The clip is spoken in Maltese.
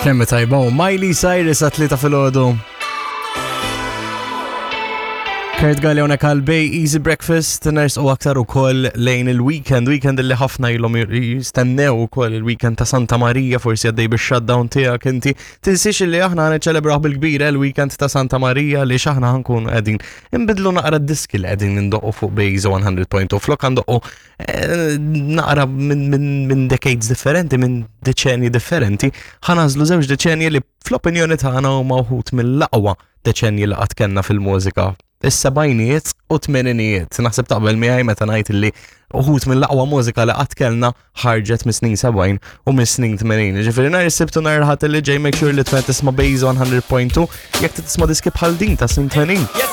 Kemm tajba u Miley Cyrus għat-tlieta filgħodu. Kurt Galli hawnhekk għal Bay Easy Breakfast ners u aktar ukoll lejn il-weekend, weekend li ħafna ilhom jistennew ukoll il-weekend ta' Santa Marija forsi għaddej bix-shutdown tiegħek inti. Tinsiex li aħna niċċelebraw bil-kbir eh, il-weekend ta' Santa Marija li x'aħna ħankun qegħdin inbidlu naqra d-diski li qegħdin indoqqu fuq Bay Easy 100.2 flok għandoqqu eh, naqra minn decades differenti, minn deċenji differenti, ħanażlu żewġ deċenji li fl-opinjoni tagħna huma wħud mill-aqwa deċenji li qatt kellna fil-mużika. Is-sebgħinijiet u tmeninijiet. Naħseb taqbel miegħi meta ngħid li uħud mill-aqwa mużika li qatt kellna ħarġet mis-snin 70 u mis-snin 80. Ġifieri nhar is-Sibt u nhar il-Ħadd li ġej make sure li tkun tisma' Base 100.2 jekk tisma' diski bħal din ta' snin 80.